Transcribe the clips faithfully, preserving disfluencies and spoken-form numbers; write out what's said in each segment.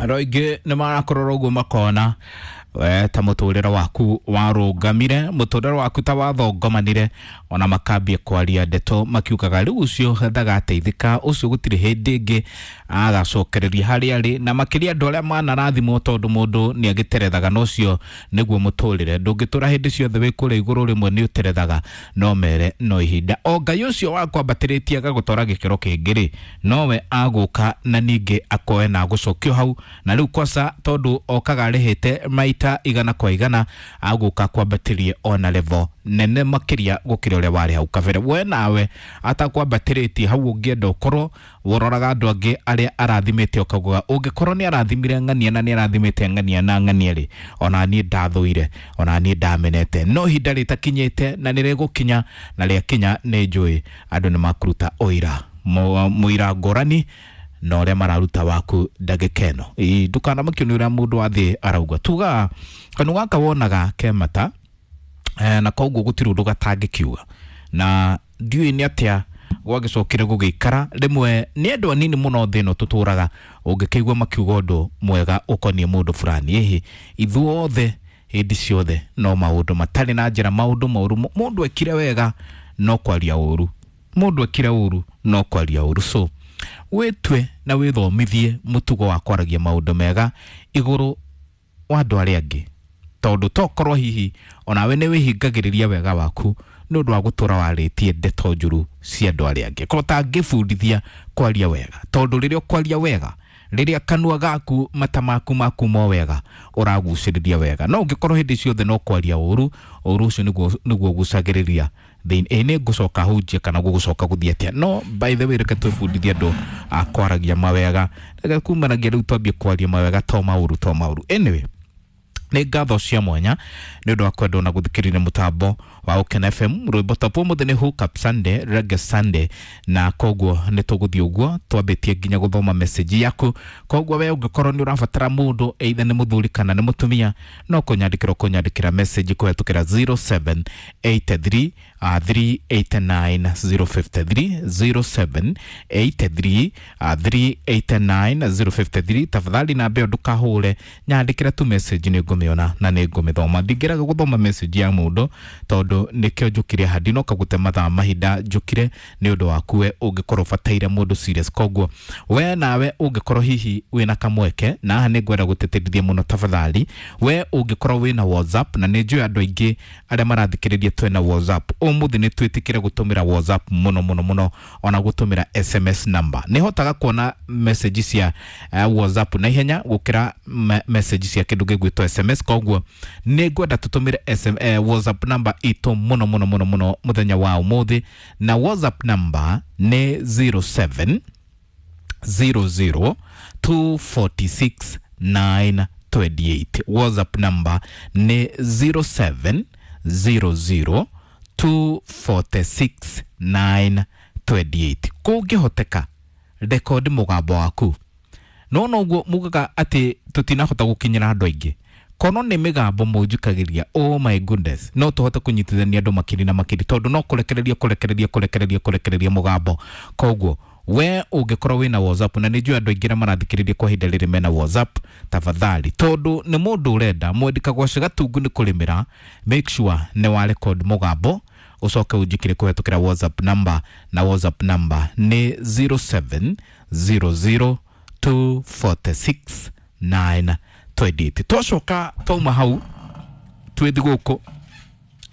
Andũ aingĩ nĩ marakorora ũguo makona we ta mũtũrĩre waku warũngamire, mũtũrĩre waku ta wathongomanire, ona makambia kwaria ndeto makiugaga rĩu ũcio ndagateithĩka, ũcio gũtirĩ hĩndĩ ĩngĩ agacokereria harĩa arĩ, na makĩria andũ arĩa manarathimwo tondũ mũndũ nĩ agĩterethaga na ũcio nĩguo mũtũrĩre. Ndũngĩtũra hĩndĩ ciothe wĩ kũrĩa igũrũ, rĩmwe nĩ ũterethaga, no mere no ihinda. O Ngai ũcio wakwambatĩrĩtie agagũtwara gĩkĩro kĩngĩ rĩ, nowe agũka na ningĩ akoe na agũcokio hau, na rĩu kwaca tondũ okaga arĩhĩte maita igana kwa igana, agũka kwambatĩrie ona level nene makĩria gũkĩra ũrĩa warĩ hau kabere. We nawe atakwambatĩrĩtie hau ũngĩenda ũkorwo ũroraga andũ angĩ arĩa arathimĩte ũkaugaga ũngĩkorwo nĩ arathimire ng'ania na nĩ arathimĩte ng'ania na ng'ania rĩ, ona niĩ ndathũire, ona niĩ ndamenete, no ihinda rĩtakinyĩte na nĩ rĩgũkinya, na rĩakinya nĩ njũĩ andũ nĩ makũruta ũira mũira ngũrani na ũrĩa mararuta waku ndagĩka ĩno. Ĩĩ, ndũkanamakio nĩ ũrĩa mũndũ wa thĩ arauga. Tuga kanua gaka wonaga ke mata, eh, na koguo gũtirĩ ũndũ gatangĩkiuga, na ndiũĩ nĩ atĩa gwagĩcokire gũgĩikara. Rĩmwe nĩ andũ anini mũno thĩ ĩno tũtũraga ũngĩkĩigua makiuga ũndũ mwega ũkoniĩ mũndũ fulani. Ĩhĩ, ithuothe hĩndĩ ciothe no maũndũ matarĩ na njĩra, maũndũ moru. Mũndũ ekire wega no kwaria ũru, mũndũ ekire ũru no kwaria ũru. So wĩtue na wĩthomithie mũtugo wa kwaragia maũndũ mega igũrũ wa andũ arĩa angĩ, tondũ tokorwo hihi onawe nĩ wĩhingagĩrĩria wega waku nĩ ũndũ wa gũtũra warĩtie ndeto njũru cia andũ arĩa angĩ. Korwo tangĩbundithia kwaria wega, tondũ rĩrĩa ũkwaria wega, rĩrĩa kanua gaku mata maku makuma wega, ũragucĩrĩria wega. No ũngĩkorwo hĩndĩ ciothe no kwaria ũru, ũru ũcio nĩguo nĩguo ũgucagĩrĩria thĩinĩ. Ĩ nĩ ngũcoka hunjie kana gũgũcoka gũthiĩ atĩa? No by the way, reke twĩbundithie andũ a kwaragia mawega, reke kumanagia rĩu twambie kwaria mawega, to maũru to maũru. Anyway, nĩ ngatho cia mwanya nĩ ũndũ wa kwendwo na gũthikĩrĩria mũtambo wa Ũkena F M. Rwĩmbo top ũmũthĩ nĩ Hook Up Sunday, Reggae Sunday, na koguo nĩ tũgũthiĩ ũguo twambĩtie nginya gũthoma message yaku. Koguo we ũngĩkorwo nĩ ũrabatara mũndũ either nĩ mũthuri kana nĩ mũtumia, no kũnyandĩkĩra ũkũnyandĩkĩra message kũhetũkĩra zero seven eight three, uh, three eight nine zero five three, zero seven eight three, uh, three eight nine zero five three. Tafadhali namba ĩyo ndũkahũre, nyandĩkĩra tu message nĩ ngũmĩona na nĩ ngũmĩthoma. Ndingĩraga gũthoma message ya mũndũ tondũ nĩkĩo njũkire haha, ndinoka gũte mathaa mahinda, njũkire nĩ ũndũ waku we ũngĩkorwo ũbataire mũndũ serious. Koguo we nawe ũngĩkorwo hihi wĩna kamweke, na haha nĩ ngwenda gũtĩtĩrithia mũno, tafadhali we ũngĩkorwo wĩna WhatsApp, na nĩ njũĩ andũ aingĩ arĩa marathikĩrĩria twĩna WhatsApp, ũmũthĩ nĩ twĩtĩkĩre gũtũmĩra WhatsApp mũno mũno mũno, ona gũtũmĩra S M S number. Nĩ hotaga kuona message cia, eh, WhatsApp na ihenya gũkĩra me-, message cia kĩndũ gĩgwĩtwo S M S. Koguo nĩ ngwenda tũtũmĩre S M, eh, WhatsApp number itũ mũno mũno mũno mũno mũthenya wa ũmũthĩ, na WhatsApp number nĩ zero seven zero zero two forty six nine twenty eight. WhatsApp number nĩ zero seven zero zero two forty six nine twenty eight. Kũngĩhoteka rekondi mũgambo waku, no noguo mugaga atĩ tũtinahota gũkinyĩra andũ aingĩ. Kono nĩ mĩgambo mũnjikagĩria, oh my goodness, no tũhote kũnyitithania andũ makiri na makiri, tondũ no kũrekereria kũrekereria kũrekereria kũrekereria mũgambo. Koguo we ũngĩkorwo wĩna WhatsApp, na nĩ njũĩ andũ aingĩ arĩa marathikĩrĩria kwa ihinda rĩrĩ mena WhatsApp, tafadhali, tondũ nĩ mũndũ ũrenda mwendika gwaci gatungu nĩ kũrĩmĩra, make sure nĩ wa record mũgambo ũcoke ũnjĩkĩre kũhetũkĩra WhatsApp number, na WhatsApp number nĩ zero seven zero zero two forty six nine twenty eight. Twacoka twauma hau twĩthi gũkũ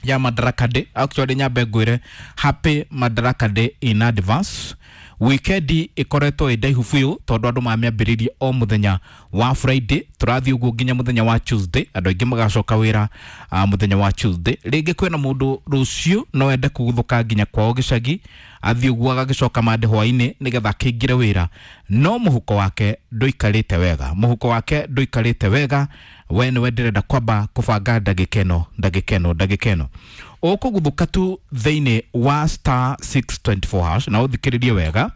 ya Madaraka Day. Actually nyambe ngwĩre happy Madaraka Day in advance. Wikendi ĩkoretwo ĩ ndaihu biũ tondũ andũ mamĩambĩrĩirie o mũthenya wa Friday, tũrathiĩ ũguo nginya mũthenya wa Tuesday, andũ aingĩ magacoka wĩra, ah, mũthenya wa Tuesday. Rĩngĩ kwĩna mũndũ rũciũ no ende kũguthũka nginya kwao gĩcagi, athiĩ ũguo agagĩcoka mande hwainĩ nĩgetha akĩingĩre wĩra, no mũhuko wake ndũikarĩte wega, mũhuko wake ndũikarĩte wega. We nĩwe ndĩrenda kwamba kũbanga ndagĩka ĩno, ndagĩka ĩno, ndagĩka ĩno. Ũkũguthũka tu thĩinĩ wa star six twenty four hash, na ũthikĩrĩrie wega.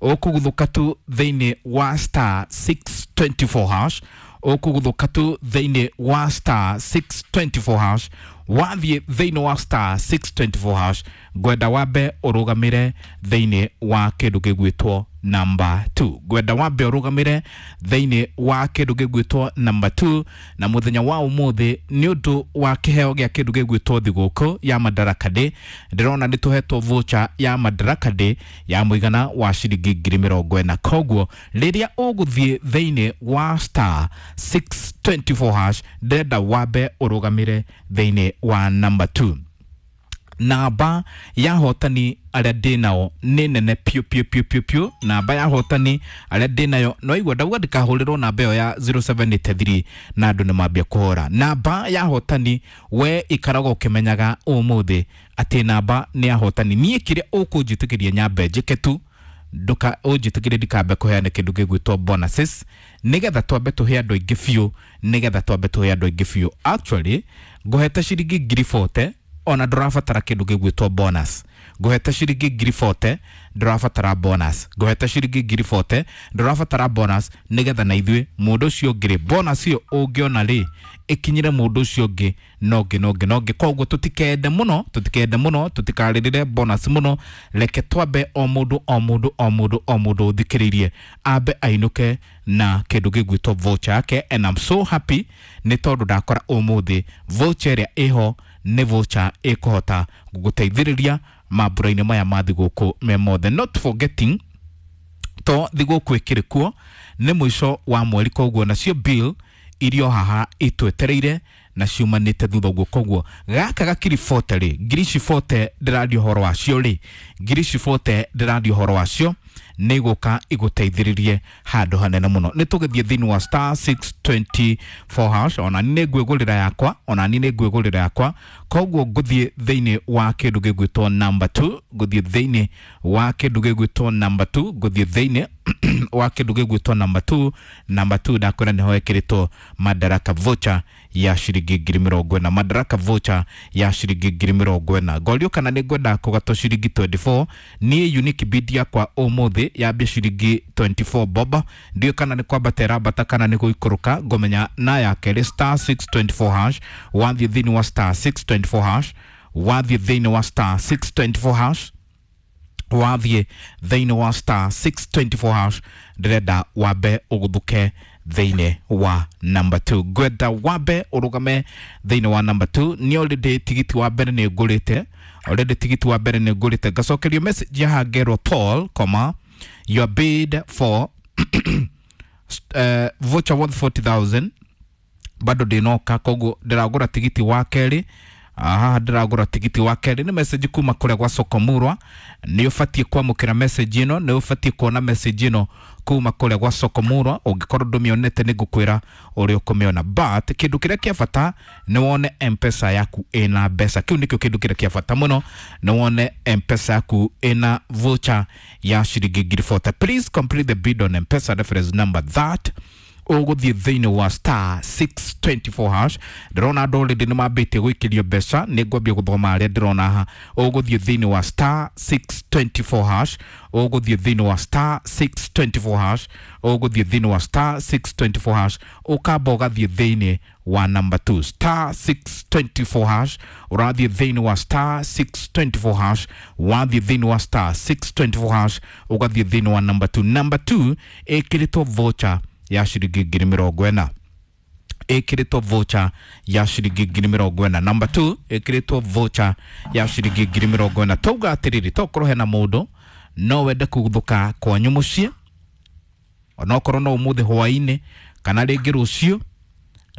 Ũkũguthũka tu thĩinĩ wa star six twenty four hash, ũkũguthũka tu thĩinĩ wa star six twenty four hash. Wathiĩ thĩinĩ wa star six twenty four hash, ngwenda wambe ũrũgamĩre thĩinĩ wa kĩndũ gĩgwĩtwo number two. Ngwenda wambe ũrũgamĩre thĩinĩ wa kĩndũ gĩgwĩtwo number two, na mũthenya wa ũmũthĩ nĩ ũndũ wa kĩheo gĩa kĩndũ gĩgwĩtwo thigũkũ ya Madaraka Day, ndĩrona nĩ tũhetwo voucher ya Madaraka Day ya mũigana wa ciringi ngiri mĩrongo ĩna. Koguo rĩrĩa ũgũthiĩ thĩinĩ wa star six twenty four hash, ndĩrenda wambe ũrũgamĩre thĩinĩ wa number two. Namba ya hotani arĩa ndĩ nao nĩ nene piũ piũ piũ piũ piũ. Namba ya hotani arĩa ndĩ nayo no igua ndauga ndikahũrĩrwo namba ĩyo ya zero seven eight three na andũ nĩ mambia kũhũra. Namba ya hotani we ikaragwo ũkĩmenyaga ũmũthĩ atĩ namba nĩ ya hotani. Niĩ kĩrĩa ũkũnjĩtĩkĩria nyambe njĩke tu, nduka ũnjĩtĩkĩrie ndikambe kũheana kĩndũ gĩgwĩtwo bonuses, nĩgetha twambe tũhe andũ aingĩ biũ, nĩgetha twambe tũhe andũ aingĩ biũ. Actually ngũhete ciringi ngiri forty, ona ndũrabatara kĩndũ gĩgwĩtwo bonus. Ngũhete ciringi ngiri forty, ndũrabatara bonus. Ngũhete ciringi ngiri forty, ndũrabatara bonus, nĩgetha na ithuĩ mũndũ ũcio ũngĩ rĩ, bonus ĩyo ũngĩona rĩ ĩkinyĩre mũndũ ũcio ũngĩ na ũngĩ na ũngĩ na ũngĩ. Koguo tũtikende mũno, tũtikende mũno, tũtikarĩrĩre bonus mũno, reke twambe o mũndũ o mũndũ o mũndũ o mũndũ ũthikĩrĩirie ambe ainũke na kĩndũ gĩgwĩtwo voucher yake. And I'm so happy nĩ tondũ ndakora ũmũthĩ voucher ĩrĩa ĩho nĩ voucher ĩkũhota gũgũteithĩrĩria mambura-inĩ maya ma thigũkũ me mothe. Not forgetting to thigũkũ ĩkĩrĩ kuo nĩ mũico wa mweri, koguo nacio bill irio haha itwetereire na ciumanĩte thutha ũguo. Koguo gaka gakiri forty rĩ, ngiri ici forty ndĩraria ũhoro wacio rĩ, ngiri ici forty ndĩraria ũhoro wacio nĩ igũka igũteithĩrĩrie handũ hanene mũno. Nĩ tũgĩthiĩ thĩinĩ wa star six twenty four hash, ona niĩ nĩ ngwĩgũrĩra yakwa, ona niĩ nĩ ngwĩgũrĩra yakwa. Koguo ngũthiĩ thĩinĩ wa kĩndũ gĩgwĩtwo number two, ngũthiĩ thĩinĩ wa kĩndũ gĩgwĩtwo number two, ngũthiĩ thĩinĩ wa kĩndũ gĩgwĩtwo number two. Number two ndakwĩra nĩho ĩkĩrĩtwo Madaraka voucher ya ciringi ngiri mĩrongo ĩna, Madaraka voucher ya ciringi ngiri mĩrongo ĩna. Ngorio kana nĩ ngwenda kũgatwo ciringi twenty four, niĩ unique bid yakwa ũmũthĩ yambia ciringi twenty four bob, ndiũĩ kana nĩ kwambata ĩrambata kana nĩ gũikũrũka, ngũmenya na ya kerĩ star six twenty four hash, wathiĩ thĩinĩ wa star six twenty four hash, wathiĩ thĩinĩ wa star six twenty four hash, wathiĩ thĩinĩ wa star six twenty four hash, ndĩrenda wambe ũgũthũke thĩinĩ wa number two. Ngwenda wambe ũrũgame thĩinĩ wa number two. Nĩ already tigiti wa mbere nĩ ngũrĩte, already tigiti wa mbere nĩ ngũrĩte. Ngacokerio message ya ngerwo Paul, comma, your bid for uh, voucher worth forty thousand bado ndĩnoka, koguo ndĩragũra tigiti wa kerĩ. Aha, ndĩragũra tigiti wa kerĩ. Nĩ message kuma kũrĩa gwa Sokomurwa. Nĩ ũbatiĩ kwamũkĩra message ĩno, nĩ ũbatiĩ kuona message ĩno kuma kũrĩa gwa Sokomurwa. Ũngĩkorwo ndũmĩonete nĩ ngũkwĩra ũrĩa ũkũmĩona, but kĩndũ kĩrĩa kĩa bata nĩ wone M-Pesa yaku ĩna mbeca. Kĩu nĩkĩo kĩndũ kĩrĩa kĩa bata mũno, nĩ wone M-Pesa yaku ĩna voucher ya ciringi ngiri forty. Please complete the bid on M-Pesa reference number that ũgũthiĩ thĩinĩ wa star six twenty four hash. Ndĩrona andũ already nĩ mambĩtie gũikĩrio mbeca, nĩ ngwambia gũthoma arĩa ndĩrona haha. Ũgũthiĩ thĩinĩ wa star six twenty four hash, ũgũthiĩ thĩinĩ wa star six twenty four hash, ũgũthiĩ thĩinĩ wa star six twenty four hash, ũkamba ũgathiĩ thĩinĩ wa number two, star six twenty four hash, ũrathiĩ thĩinĩ wa star six twenty four hash, wathiĩ thĩinĩ wa star six twenty four hash, ũgathiĩ thĩinĩ wa number two. Number two ĩkĩrĩtwo voucher ya ciringi ngiri mĩrongo ĩna, ĩkĩrĩtwo voucher ya ciringi ngiri mĩrongo ĩna. Number two ĩkĩrĩtwo voucher ya ciringi ngiri mĩrongo ĩna. Tauga atĩrĩrĩ, tokorwo hena mũndũ no wende kũguthũka kwanyu mũciĩ, onokorwo no ũmũthĩ hwaĩ-inĩ kana rĩngĩ rũciũ,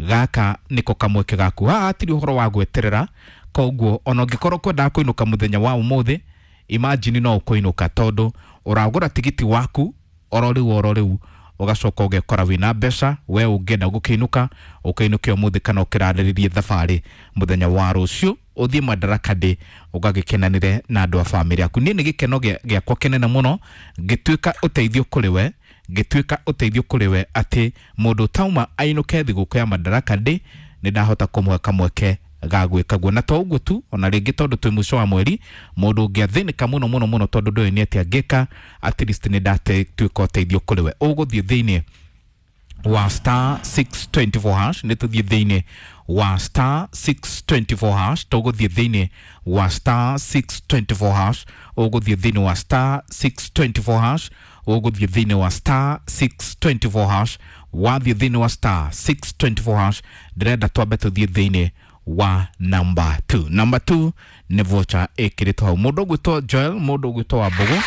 gaka nĩko kamweke gaku. Haha hatirĩ ũhoro wa gweterera, koguo ona ũngĩkorwo kwendaga kũinũka mũthenya wa ũmũthĩ, imagine no ũkũinũka tondũ ũragũra tigiti waku oro rĩu oro rĩu, ũgacoka ũgekora wĩna mbeca. We ũngĩenda gũkĩinũka ũkĩinũke ũmũthĩ kana ũkĩrarĩrĩrie thabarĩ mũthenya wa rũciũ, ũthiĩ Madaraka Day ũgagĩkenanĩre na andũ a bamĩrĩ yaku. Niĩ nĩ gĩkeno gĩakwa kĩnene mũno ngĩtuĩka ũteithio kũrĩ we, ngĩtuĩka ũteithio kũrĩ we atĩ mũndũ tauma ainũke thigũkũ ya Madaraka Day nĩ ndahota kũmũhe kamweke ga gwĩka guo. Na to ũguo tu, ona rĩngĩ tondũ twĩ mũico wa mweri, mũndũ ũngĩathĩnĩka mũno mũno mũno tondũ ndũĩ nĩ atĩa angĩka, at least nĩ ndatuĩka ũteithio kũrĩ we. Ũgũthiĩ thĩinĩ wa star six twenty four hash, nĩ tũthiĩ thĩinĩ wa star six twenty four hash, tũgũthiĩ thĩinĩ wa star six twenty four hash, ũgũthiĩ thĩinĩ wa star six twenty four hash, Ũgũthiĩ thĩinĩ wa star six twenty four hash. Wathiĩ thĩinĩ wa star six twenty four hash, ndĩrenda twambe tũthiĩ thĩinĩ wa number two. Number two nĩ voucher ĩkĩrĩtwo hau. Mũndũ ũgwĩtwo Joel, mũndũ ũgwĩtwo Wambũgũ,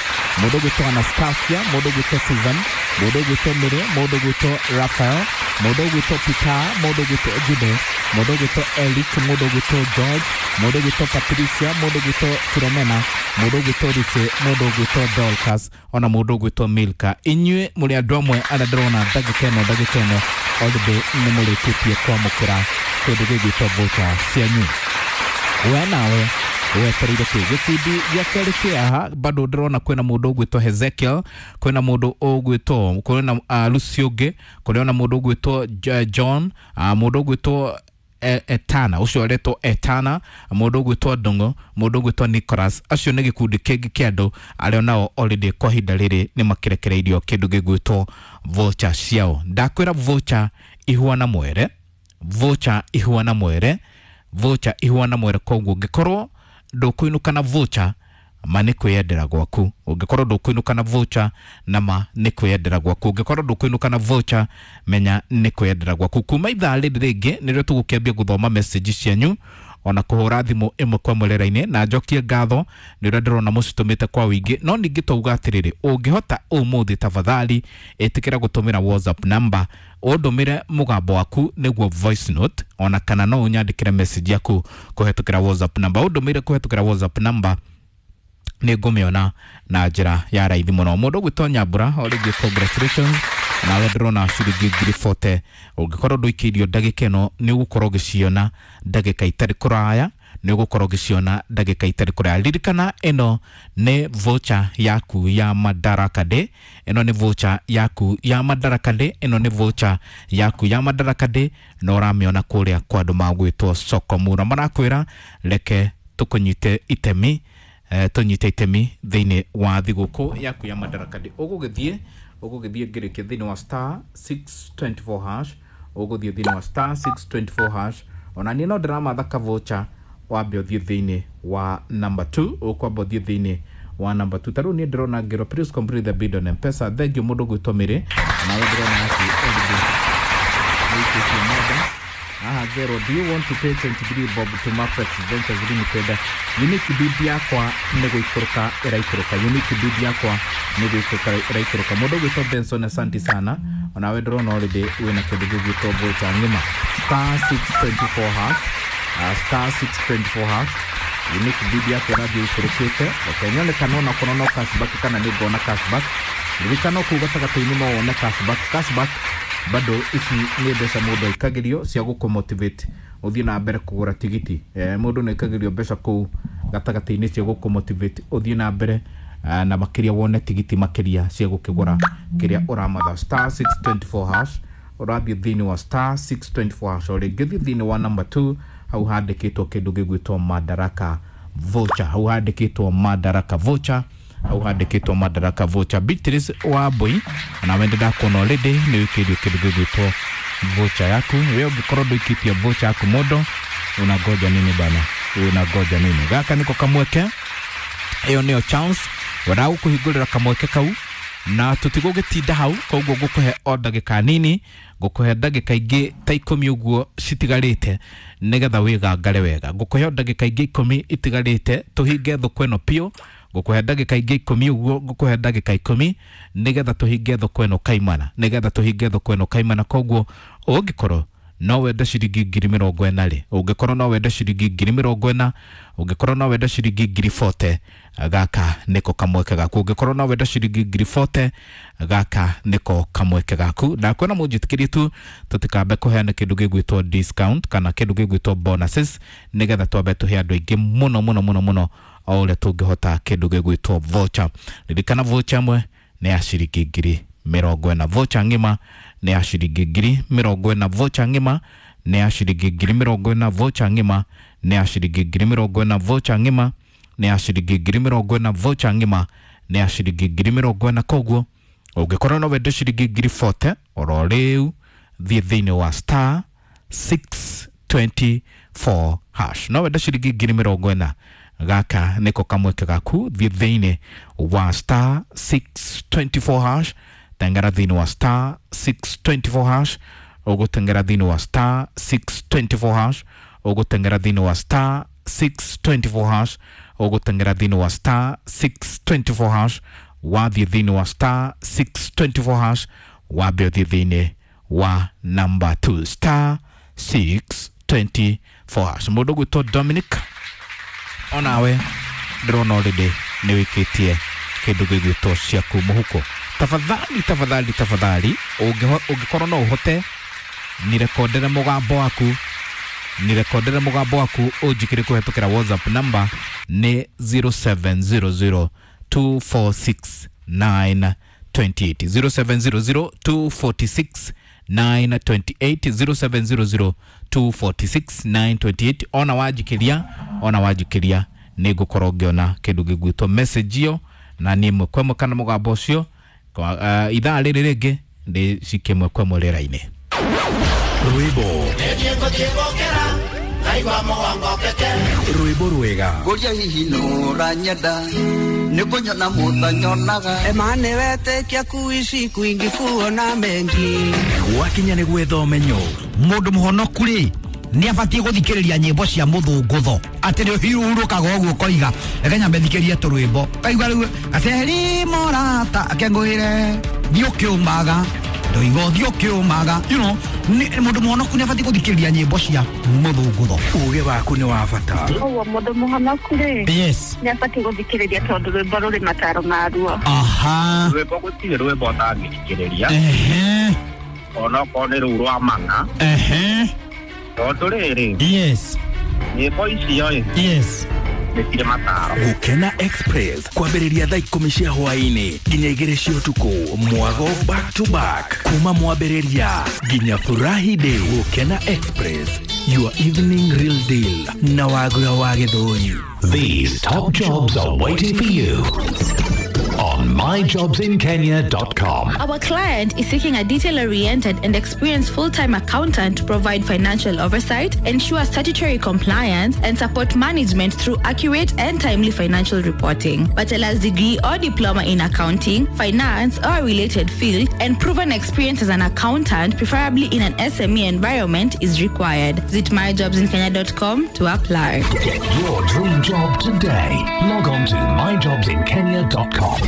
mũndũ ũgwĩtwo Anastasia, mũndũ ũgwĩtwo Susan, mũndũ ũgwĩtwo Mary, mũndũ ũgwĩtwo Raphael, mũndũ ũgwĩtwo Peter, mũndũ ũgwĩtwo Jude, mũndũ ũgwĩtwo Eric, mũndũ ũgwĩtwo George, mũndũ ũgwĩtwo Patricia, mũndũ ũgwĩtwo Philomena, mũndũ ũgwĩtwo Lucy, mũndũ ũgwĩtwo Dorcas, ona mũndũ ũgwĩtwo Milka. Inyuĩ mũrĩ andũ amwe arĩa ndĩrona ndagĩka ĩno ndagĩka ĩno already nĩ mũrĩkĩtie kwamũkĩra kĩndũ gĩgwĩtwo voucher cianyu. We nawe wetereire kĩ? Gĩkundi gĩa kerĩ kĩ haha bado ndĩrona kwĩna mũndũ ũgwĩtwo Hezekiel, kwĩna mũndũ ũgwĩtwo, kwĩna uh, Lucy ũngĩ, kũrĩ ona mũndũ ũgwĩtwo John, uh, mũndũ ũgwĩtwo Etana, ũcio aretwo Etana, mũndũ ũgwĩtwo Ndung'u, mũndũ ũgwĩtwo Nicholas. Acio nĩ gĩkundi kĩngĩ kĩa andũ arĩa nao already kwa ihinda rĩrĩ nĩ makĩrekereirio kĩndũ gĩgwĩtwo voucher ciao. Ndakwĩra voucher ihuana mwere, voucher ihuana mwere, voucher ihuana mwere. Koguo ũngĩkorwo ndũkũinũka na voucher, ma nĩ kwĩyendera gwaku. Ũngĩkorwo ndũkũinũka na voucher, na ma nĩ kwĩyendera gwaku. Ũngĩkorwo ndũkũinũka na voucher, menya nĩ kwĩyendera gwaku. Kuma ithaa rĩrĩ rĩngĩ nĩrĩo tũgũkĩambia gũthoma message cianyu ona kũhũra thimũ ĩmwe kwa ĩmwe rĩera-inĩ, na njokie ngatho nĩ ũrĩa ndĩrona mũcitũmĩte kwa wĩingĩ. No ningĩ twauga atĩrĩrĩ, ũngĩhota ũmũthĩ tafadhali ĩtĩkĩra gũtũmĩra WhatsApp number, ũndũmĩre mũgambo waku nĩguo voice note, ona kana no ũnyandĩkĩre message yaku kũhetũkĩra WhatsApp number. Ũndũmĩre kũhetũkĩra WhatsApp number nĩ ngũmĩona na njĩra ya raithi mũno. Mũndũ ũgwĩtwo Nyambura, o rĩngĩ congratulations, nawe ndĩrona ciringi ngiri bote. Ũngĩkorwo ndũikĩirio ndagĩka ĩno nĩ ũgũkorwo ũgĩciona ndagĩka itarĩ kũraya, nĩ ũgũkorwo ũgĩciona ndagĩka itarĩ kũraya. Ririkana ĩno nĩ voucher yaku ya Madaraka Day, ĩno nĩ voucher yaku ya Madaraka Day, ĩno nĩ voucher yaku ya Madaraka Day, na ũramĩona kũrĩa kwa andũ magwĩtwo Soko Mura. Marakwĩra reke tũkũnyite itemi, eh, tũnyite itemi thĩinĩ wa thigũkũ yaku ya Madaraka Day. Ũgũgĩthiĩ ũgũgĩthiĩ ngĩrĩkia thĩinĩ wa star six twenty four hash, ũgũthiĩ thĩinĩ wa star six twenty four hash. Ona niĩ no ndĩramatha ka voucher, wambe ũthiĩ thĩinĩ wa number two, ũkwamba ũthiĩ thĩinĩ wa number two. Ta rĩu niĩ ndĩrona ngĩrwo please complete the bid on M-Pesa. Thank you mũndũ ũgwĩtwo Mary, nawe ndĩrona atĩ already nĩũikĩtie mũndũ haha ngero, do you want to pay twenty three bob to Mafrex Ventures Limited? Unique bid yakwa nĩ gũikũrũka ĩraikũrũka, unique bid yakwa nĩ gũikũrũka ĩraikũrũka. Mũndũ ũgwĩtwo Benson, asante sana, onawe ndĩrona already wĩna kĩndũ gĩgwĩtwo voucher ng'ima. Star six twenty four hash, uh, star six twenty four hash. Unique bid yakwa ĩrathiĩ ĩikũrũkĩte. Reke nyone kana onakorwo no cashback, kana nĩ ngona cashback. Ririkana kũu gatagatĩ-inĩ no wone cashback. Cashback bado ici nĩ mbeca mũndũ aikagĩrio cia gũkũ motivate ũthiĩ na mbere kũgũra tigiti. Eh, mũndũ nĩ aikagĩrio mbeca kũu gatagatĩ-inĩ cia gũkũ motivate ũthiĩ na mbere eh, na makĩria wone tigiti makĩria cia gũkĩgũra kĩrĩa ũramatha. Star six twenty four hash, ũrathiĩ thĩinĩ wa star six twenty four hash. O rĩngĩ thiĩ thĩinĩ wa number two, hau handĩkĩtwo kĩndũ gĩgwĩtwo Madaraka voucher, hau handĩkĩtwo Madaraka voucher, hau handĩkĩtwo Madaraka voucher. Beatrice wa Mbui, nawe ndĩrakuona already nĩ wĩkĩirio kĩndũ gĩgwĩtwo voucher yaku. We ũngĩkorwo ndũikĩtie voucher yaku, mũndũ unangoja nini bana? Unangoja nini? Gaka niko kamweke, ĩyo nĩyo chance wendaga gũkũhingũrĩra kamweke kau, na tũtigũgĩtinda hau. Koguo ngũkũhe o ndagĩka nini, ngũkũhe ndagĩka ingĩ ta ikũmi ũguo citigarĩte nĩgetha wĩgangare wega. Ngũkũhe o ndagĩka ingĩ ikũmi itigarĩte tũhinge thoko ĩno biũ. Ngũkũhe ndagĩka ingĩ ikũmi ũguo, ngũkũhe ndagĩka ikũmi nĩgetha tũhinge thoko ĩno kaimana, nĩgetha tũhinge thoko ĩno kaimana. Koguo ũngĩkorwo no wende ciringi ngiri mĩrongo ĩna rĩ, ũngĩkorwo no wende ciringi ngiri mĩrongo ĩna, ũngĩkorwo no wende ciringi ngiri bote, gaka nĩko kamweke gaku. Ũngĩkorwo no wende ciringi ngiri bote, gaka nĩko kamweke gaku. Ndakwĩra mũnjĩtĩkĩrie tu tũtikambe kũheana kĩndũ gĩgwĩtwo discount kana kĩndũ gĩgwĩtwo bonuses, nĩgetha twambe tũhe andũ aingĩ mũno mũno mũno mũno o ũrĩa tũngĩhota kĩndũ gĩgwĩtwo voucher. Ririkana voucher ĩmwe nĩ ya ciringi ngiri mĩrongo ĩna, voucher ng'ima nĩ ya ciringi ngiri mĩrongo ĩna, voucher ng'ima nĩ ya ciringi ngiri mĩrongo ĩna, voucher ng'ima nĩ ya ciringi ngiri mĩrongo ĩna, voucher ng'ima nĩ ya ciringi ngiri mĩrongo ĩna, voucher ng'ima nĩ ya ciringi ngiri mĩrongo ĩna. Koguo ũngĩkorwo no wende ciringi ngiri bote oro rĩu, thiĩ thĩinĩ wa star six twenty four hash. No wende ciringi ngiri mĩrongo ĩna, Gaka niko kamweke gaku thiĩ thĩinĩ wa star six twenty four hash, tengera thĩinĩ wa star six twenty four hash, ũgũtengera thĩinĩ wa star six twenty four hash, ũgũtengera thĩinĩ wa star six twenty four hash, ũgũtengera thĩinĩ wa star six twenty four hash, wathiĩ thĩinĩ wa star six twenty four hash, wambe ũthiĩ thĩinĩ wa number two star six twenty four hash. Mũndũ ũgwĩtwo Dominic, onawe ndĩrona already nĩ wĩkĩtie kĩndũ gĩgwĩtwo ciaku mũhuko. Tafadhali, tafadhali, tafadhali, ũngĩkorwo no ũhote nirekondere mũgambo waku, nirekondere mũgambo waku ũnjĩkĩre kũhetũkĩra WhatsApp number nĩ zero seven zero zero two four six nine twenty eight, zero seven zero zero two forty six nine twenty eight, zero seven zero zero two forty six nine twenty eight. Ona wanjikĩria, ona wanjikĩria nĩ ngũkorwo ngĩona kĩndũ gĩgwĩtwo message ĩyo na nĩ ĩmwe kwa ĩmwe kana mũgambo ũcio kwa, uh, ithaa rĩrĩ rĩngĩ ndĩ cikie ĩmwe kwa ĩmwe rĩera-inĩ. Rwĩmbo rwĩmbo rwega ngũria hihi nũranyenda nĩ kũnyona mũtanyonaga emane wetĩkia kuici kwingi kuona mengi gwakinya nĩ gwetha ũmenyo. Mũndũ mũhonoku rĩ nĩ abatiĩ gũthikĩrĩria nyĩmbo cia mũthũngũtho atĩ nĩ ũhurũkaga ũguo ũkoiga reke nyambe thikĩrie tũrwĩmbo kaigua rĩu gaceri morata akengũĩre thiĩ ũkĩũmaga ndoiga ũthiĩ ũkĩũmaga, you know, mũndũ mũhonoku nĩ abatiĩ gũthikĩrĩria nyĩmbo cia mũthũngũtho. Ũgĩ waku nĩ wa bata. Ũguo mũndũ mũhonoku rĩ, yes, nĩ abatiĩ gũthikĩrĩria tondũ rwĩmbo rũrĩ mataro maruo. Aha, rwĩmbo gũtirĩ rwĩmbo ũtangĩthikĩrĩria. Ehe, onokorwo nĩ rũu rwa mana. Ehe, tondũ rĩrĩ, yes, nyĩmbo icio ĩ, yes, nĩ mataro. Gũkena Express kwambĩrĩria thaa ikũmi cia hwaĩ-inĩ nginya igĩrĩ cia ũtukũ, mwago back to back kuma mwambĩrĩria nginya furahi day. Gũkena Express, your evening real deal na Wagura wa Gĩthũri. These top jobs are waiting for you on my jobs in kenya dot com. Our client is seeking a detail-oriented and experienced full-time accountant to provide financial oversight, ensure statutory compliance, and support management through accurate and timely financial reporting. Bachelor's degree or diploma in accounting, finance, or related field, and proven experience as an accountant, preferably in an S M E environment, is required. Visit my jobs in kenya dot com to apply. Get your dream job today. Log on to my jobs in kenya dot com.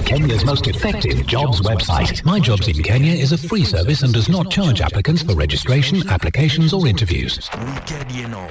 Kenya's most effective jobs website. My Jobs in Kenya is a free service and does not charge applicants for registration, applications or interviews. Weekend ĩno